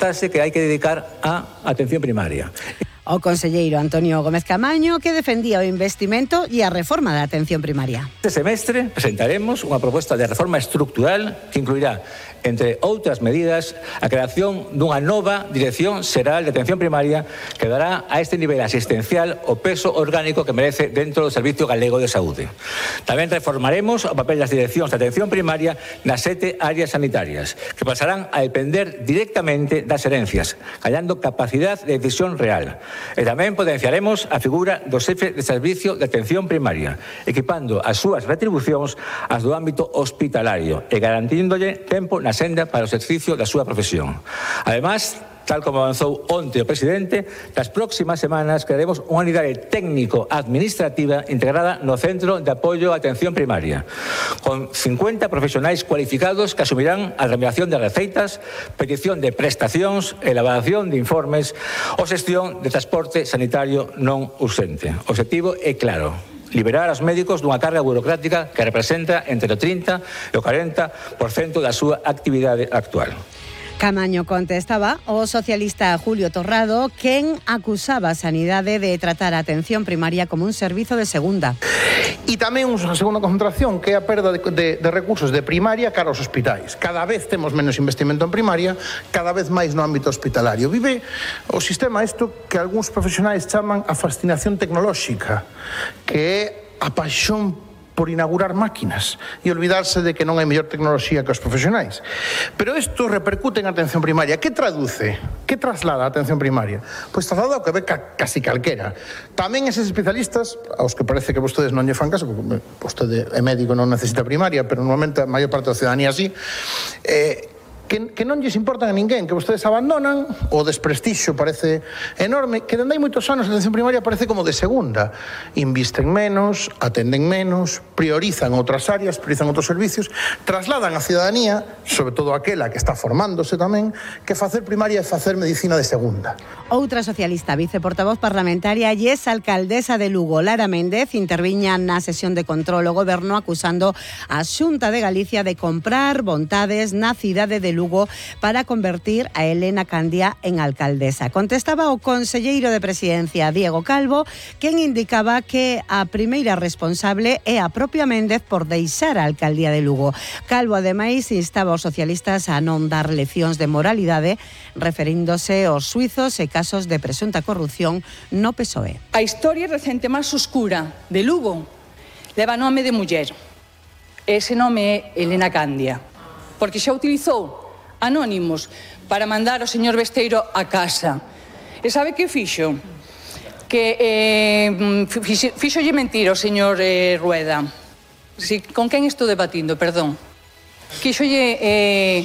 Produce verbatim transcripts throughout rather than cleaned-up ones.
que hai que dedicar á atención primaria. O conselleiro Antonio Gómez Camaño, que defendía o investimento e a reforma da atención primaria. Este semestre presentaremos unha proposta de reforma estructural que incluirá, entre outras medidas, a creación dunha nova Dirección Xeral de Atención Primaria que dará a este nivel asistencial o peso orgánico que merece dentro do Servicio Galego de Saúde. Tamén reformaremos o papel das direccións de atención primaria nas sete áreas sanitarias, que pasarán a depender directamente das herencias, hallando capacidade de decisión real. E tamén potenciaremos a figura do xefe de servicio de atención primaria, equipando as súas retribucións ás do ámbito hospitalario e garantíndolle tempo na senda para o exercicio da súa profesión. Ademais, tal como avanzou onte o presidente, nas próximas semanas crearemos unha unidade técnico-administrativa integrada no Centro de Apoio á Atención Primaria, con cincuenta profesionais cualificados que asumirán a remediación de receitas, petición de prestacións, elaboración de informes ou xestión de transporte sanitario non urxente. O obxectivo é claro: liberar aos médicos dunha carga burocrática que representa entre o trinta e o cuarenta por cento da súa actividade actual. Camaño contestaba o socialista Julio Torrado, quen acusaba a Sanidade de tratar a atención primaria como un servizo de segunda. E tamén unha segunda concentración, que é a perda de, de, de recursos de primaria cara aos hospitais. Cada vez temos menos investimento en primaria, cada vez máis no ámbito hospitalario. Vive o sistema isto que algúns profesionais chaman a fascinación tecnolóxica, que é a paixón por inaugurar máquinas e olvidarse de que non hai mellor tecnoloxía que os profesionais. Pero isto repercute en atención primaria. Que traduce? Que traslada a atención primaria? Pois traslada o que ve ca, casi calquera. Tamén eses especialistas, aos que parece que vostedes non lle fan caso, porque vostede é médico, non necesita primaria, pero normalmente a maior parte da ciudadanía así, eh, Que, que non lles importan a ninguén, que vostedes abandonan, o desprestixio parece enorme, que dende hai moitos anos a atención primaria parece como de segunda. Invisten menos, atenden menos, priorizan outras áreas, priorizan outros servicios, trasladan a ciudadanía, sobre todo aquela que está formándose tamén, que facer primaria é facer medicina de segunda. Outra socialista, viceportavoz parlamentaria e ex alcaldesa de Lugo, Lara Méndez, interviña na sesión de control ao goberno acusando a Xunta de Galicia de comprar vontades na cidade de Lugo Lugo para convertir a Elena Candia en alcaldesa. Contestaba o conselleiro de Presidencia, Diego Calvo, quen indicaba que a primeira responsable é a propia Méndez por deixar a alcaldía de Lugo. Calvo, ademais, instaba aos socialistas a non dar leccións de moralidade, referíndose aos suizos e casos de presunta corrupción no P S O E. A historia recente máis oscura de Lugo leva nome de muller. Ese nome é Elena Candia, porque xa utilizou anónimos para mandar o señor Besteiro a casa. E sabe que fixo? Que eh, fixo, fixolle mentir o señor eh, Rueda. Si, con quen estou debatindo, perdón? Quixolle, eh,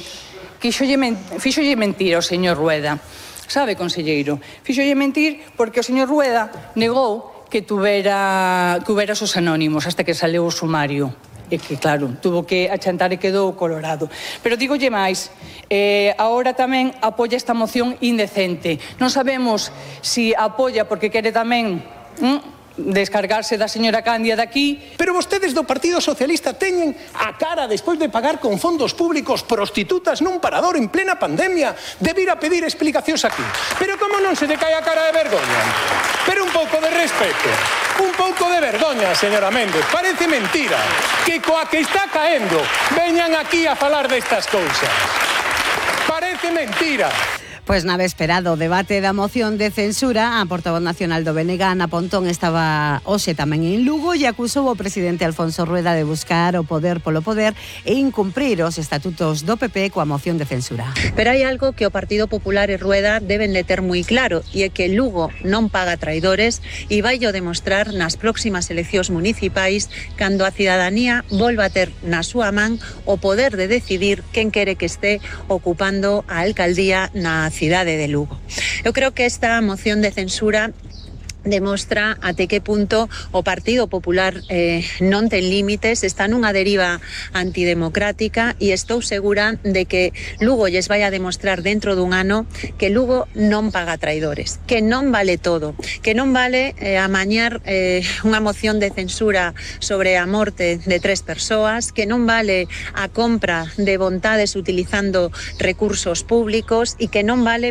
quixolle, men, fixolle mentir o señor Rueda. Sabe, conselleiro? Fixolle mentir porque o señor Rueda negou que tuvera, que tuvera os anónimos hasta que saleu o sumario. E que, claro, tuvo que achantar e quedou colorado. Pero dígolle máis, eh, agora tamén apoia esta moción indecente. Non sabemos si apoia porque quere tamén hm, descargarse da señora Candia daqui. Pero vostedes do Partido Socialista teñen a cara despois de pagar con fondos públicos prostitutas nun parador en plena pandemia de vir a pedir explicacións aquí. Pero como non se lle cae a cara de vergoña? Pero un pouco de respeto, un pouco de vergoña, señora Méndez. Parece mentira que coa que está caendo veñan aquí a falar destas cousas. Parece mentira. Pois na véspera do debate da moción de censura, a portavoz nacional do B N G, Ana Pontón, estaba hoxe tamén en Lugo e acusou o presidente Alfonso Rueda de buscar o poder polo poder e incumprir os estatutos do P P coa moción de censura. Pero hai algo que o Partido Popular e Rueda deben de ter moi claro, e é que Lugo non paga traidores e vai o demostrar nas próximas eleccións municipais cando a cidadanía volva a ter na súa man o poder de decidir quen quere que este ocupando a alcaldía na cidade de Lugo. Eu creo que esta moción de censura demostra até que punto o Partido Popular eh, non ten límites, está nunha deriva antidemocrática e estou segura de que Lugo lles vai a demostrar dentro dun ano que Lugo non paga traidores, que non vale todo, que non vale eh, amañar eh, unha moción de censura sobre a morte de tres persoas, que non vale a compra de vontades utilizando recursos públicos e que non vale